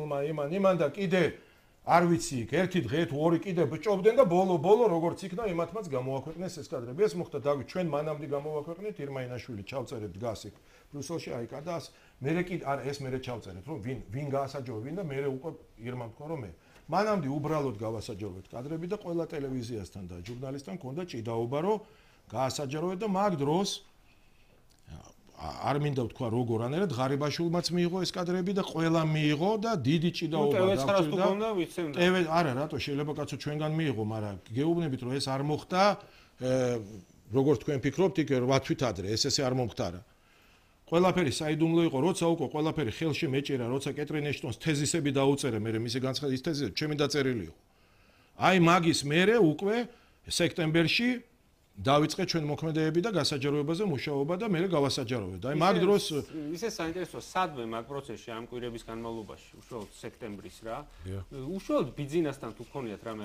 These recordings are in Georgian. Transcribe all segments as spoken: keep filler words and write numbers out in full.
ნიშნულმა იმან იმან და კიდე არ ვიცი იქ ერთი დღე თუ ორი კიდე ბჭობდნენ და ბოლო ბოლო როგორც იქნა იმათმაც გამოაქვეყნეს ეს კადრები. ეს მოხდა დავით ჩვენ მანამდე გამოვაქვეყნეთ ირმაინაშვილი ჩავწერეთ დგას იქ ბრიუსელში აი კადას მერე კიდე არა ეს მერე ჩავწერეთ რომ ვინ ვინ გაასაჯორო ვინ და მერე უკვე ირმამ თქვა რომ მე მანამდე უბრალოდ გავასაჯაროვეთ კადრები და ყველა ტელევიზიასთან და ჟურნალისტთან ქონდა ჭიდაობა რომ გაასაჯაროვეთ და მაგ დროს არ მინდა ვთქვა როგორ ანერად ღარიბაშვილმაც მიიღო ეს კადრები და ყველა მიიღო და დიდი ჭიდაობა დაგვჭირდა. ტევ არა რატო შეიძლება კაცო ჩვენგან მიიღო, მაგრამ გეუბნებით რომ ეს არ მოხდა, როგორც თქვენ ფიქრობთ, იქ რვა თვით ადრე ეს ესე არ მომხდარა. ყველაფერი საიდუმლო იყო, როცა უკვე ყველაფერი ხელში მეჭირა, როცა კეტრინ ეშტონს თეზისები დაუწერე, მე მისი განცხადი ის თეზისები ჩემი დაწერილი იყო. აი მაგის მერე უკვე სექტემბერში დავიწყე ჩვენ მოქმედებები და გასაჯაროებაზე მუშაობა და მე გავასაჯაროვეთ. აი მაგ დროს ისე საინტერესოა სადმე მაგ პროცესში ამ კვირების განმავლობაში, უშუალოდ სექტემბრის რა. უშუალოდ ბიძინასთან თუ გქონიათ რამე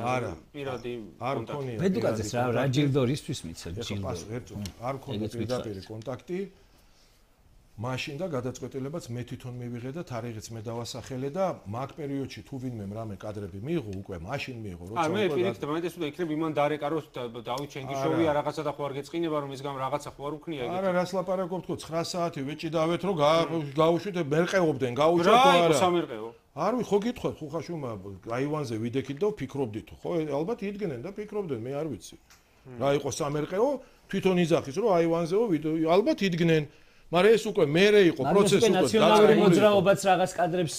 პირადი კონტაქტი? ბედუკაძეს რა რა ჯილდორისთვის მიცემ ჯილდო. არ მქონდა პირდაპირ კონტაქტი. მაშინ და გადაწყვეტილებაც მე თვითონ მივიღე და თარიღიც მე დავასახელე და მაგ პერიოდში თუ ვინმე რამე კადრები მიიღო უკვე მაშინ მიიღო როცა უკვე მე პირიქით მაინტერესებდა იქნებ იმან დარეკაროს დავით ჩენგიშოვია რაღაცა და ხო არ გეწყინება რომ ის გამ რაღაცა ხო არ უქნია ეგეთი არა რას ლაპარაკობ თქო ცხრა საათი ვეჭიდავეთ რომ გაუშვით მერყეობდნენ გაუჩათ ხო არა რა სამერყეო არ ვი ხო გითხოთ ხუხაშუმა აივანზე ვიდექით და ვფიქრობდით ხო ალბათ იდგნენ და ფიქრობდნენ მე არ ვიცი რა იყო სამერყეო თვითონ იზახის რომ აივანზეო ალბათ იდგნენ მაგრამ ეს უკვე მერე იყო პროცესი უკვე ნაციონალური მოძრაობაც რაღაც კადრებს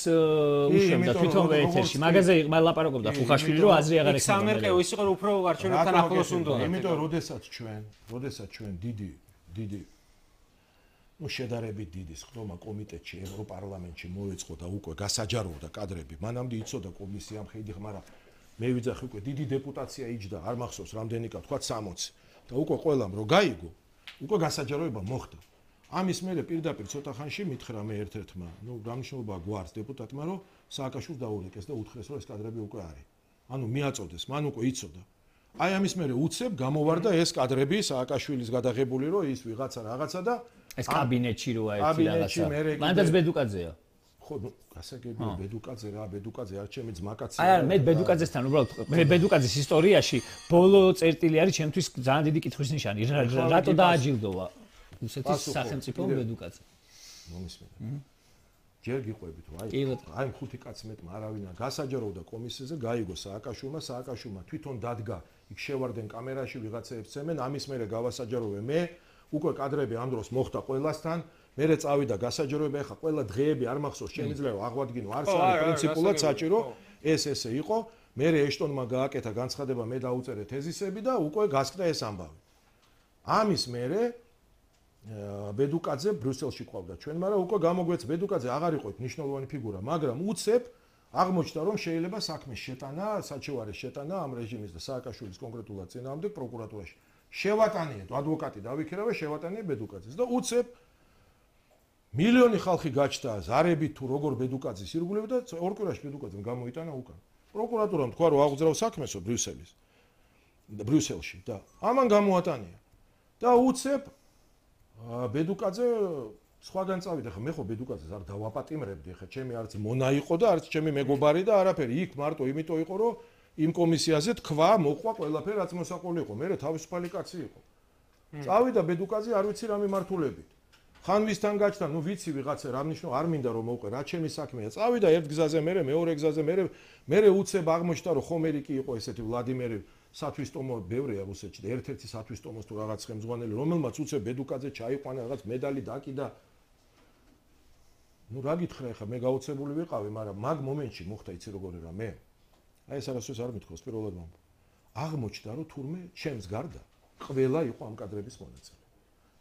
უშვებდა თვითონვე ეთერში მაგაზე ლაპარაკობდა ხუხაშვილი რომ აზრი აღარ ექნება სამერყეო ის იყო რომ უფრო არჩევნებთან ახლოს უნდა იმიტომ როდესაც ჩვენ როდესაც ჩვენ დიდი დიდი ну შედარებით დიდი ხდომა კომიტეტში ევროპარლამენტში მოეწყო და უკვე გასაჯაროვდა კადრები მანამდე იცოდა კომისია მხედი მაგრამ მე ვიძახი უკვე დიდი დეპუტაცია იჯდა არ მახსოვს რამდენი კა თქვა სამოცი და უკვე ყველამ რო გაიგო უკვე გასაჯაროება მოხდა ამის მერე პირდაპირ ცოტა ხანში მითხრა მე ერთ-ერთმა, ნუ გამშობლობა გვარს დეპუტატმა, რომ სააკაშვილს დაურეკეს და უთხრეს, რომ ეს კადრები უკვე არის. ანუ მიაწოდეს, მან უკვე იცოდა. აი ამის მერე უცებ გამოვარდა ეს კადრები სააკაშვილის გადაღებული, რომ ის ვიღაცა რაღაცა და ეს კაბინეტში როა ერთი რაღაცა. მანდაც ბედუკაძეა. ხო, ნუ გასაგებია ბედუკაძე რა, ბედუკაძე არ ჩემი ძმაკაცია. აი მე ბედუკაძესთან უბრალოდ მე ბედუკაძეს ისტორიაში ბოლო წერტილი არის ჩემთვის ძალიან დიდი კითხვის ნიშანი. რატო დააჯილდოვა? რუსეთის სახელმწიფო ბედუკაძე. მომისმენთ. ჯერ გიყვებით, აი, აი ხუთი კაცი მეტმა არავინ გასაჯაროვდა კომისიაზე, გაიგო სააკაშვილმა, სააკაშვილმა თვითონ დადგა, იქ შევარდნენ კამერაში ვიღაცაებს ცემენ, ამის მერე გავასაჯაროვე მე, უკვე კადრები ამ დროს მოხდა ყველასთან, მერე წავიდა გასაჯაროება, ეხა ყველა დღეები არ მახსოვს, შემიძლია აღვადგინო, არც არის პრინციპულად საჭირო, ეს ესე იყო, მერე ეშტონმა გააკეთა განცხადება, მე დაუწერე თეზისები და უკვე გასკდა ეს ამბავი. ამის მერე ბედუკაძე ბრიუსელში ყავდა ჩვენ, მაგრამ უკვე გამოგვეც ბედუკაძე აღარ იყო მნიშვნელოვანი ფიგურა, მაგრამ უცებ აღმოჩნდა რომ შეიძლება საქმის შეტანა, საჩივარის შეტანა ამ რეჟიმის და სააკაშვილის კონკრეტულად წინააღმდეგ პროკურატურაში. შევატანიეთ, ადვოკატი დავიქირავე, შევატანიე ბედუკაძეს და უცებ მილიონი ხალხი გაჩნდა ზარებით თუ როგორ ბედუკაძის ირგვლივ და ორ კვირაში ბედუკაძემ გამოიტანა უკან. პროკურატურამ თქვა რომ აღძრავ საქმესო ბრიუსელის ბრიუსელში და ამან გამოატანია. და უცებ ბედუკაძე სხვაგან წავიდა, ხა მე ხო ბედუკაძეს არ დავაპატიმრებდი, ხა ჩემი არც მონა იყო და არც ჩემი მეგობარი და არაფერი, იქ მარტო იმიტომ იყო, რომ იმ კომისიაზე თქვა, მოყვა ყველაფერი რაც მოსაყოლი იყო, მე თავისუფალი კაცი იყო. წავიდა ბედუკაძე, არ ვიცი რა მიმართულებით. ხან ვისთან გაჩნდა, ნუ ვიცი ვიღაცა რა ნიშნო, არ მინდა რომ მოვყე, რა ჩემი საქმეა. წავიდა ერთ გზაზე, მე მეორე გზაზე, მე მე უცებ აღმოჩნდა, რომ ხომერი კი იყო ესეთი ვლადიმერი სათვისტომო ბევრია რუსეთში და ერთ-ერთი სათვისტომოს თუ რაღაც ხელმძღვანელი, რომელმაც უცებ ბედუკაძე ჩაიყვანა რაღაც медали დაკიდა. ნუ რა გითხრა ხა მე გაოცებული ვიყავი, მაგრამ მაგ მომენტში მოხდა იცი როგორი რა მე. აი ეს არასდროს არ მithქოს პირველად მომ. აღმოჩნდა რომ თურმე ჩემს გარდა ყველა იყო ამ კადრების მონაწილე.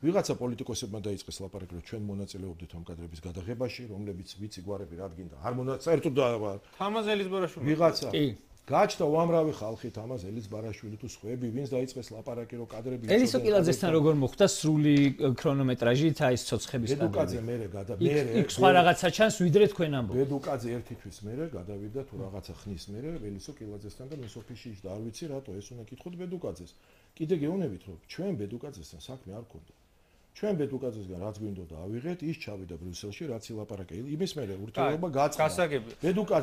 ვიღაცა პოლიტიკოსებმა დაიწყეს ლაპარაკი რომ ჩვენ მონაწილეობდით ამ კადრების გადაღებაში, რომლებიც ვიცი გვარები რადგინდა არ მონაწილეობთ და თამაზელის ბარაშვილი. ვიღაცა გაჩნდა უამრავი ხალხი თამაზელის ბარაშვილი თუ სხვები, ვინც დაიწყეს ლაპარაკი რომ კადრები ელისო კილაძესთან როგორ მოხდა სრული ქრონომეტრაჟით აი ეს ცოცხების კადრები. ბედუკაძე მერე გადა მერე იქ სხვა რაღაცა ჩანს ვიდრე თქვენ ამბობთ. ბედუკაძე ერთი თვის მერე გადავიდა თუ რაღაცა ხნის მერე ელისო კილაძესთან და მის ოფისში და არ ვიცი რატო ეს უნდა კითხოთ ბედუკაძეს. კიდე გეუბნებით რომ ჩვენ ბედუკაძესთან საქმე არ გქონდა. ჩვენ ბედუკაძესგან რაც გვინდოდა ავიღეთ, ის ჩავიდა ბრიუსელში, რაც ილაპარაკა. იმის მერე ურთიერთობა გაწყდა. ბედუკაძე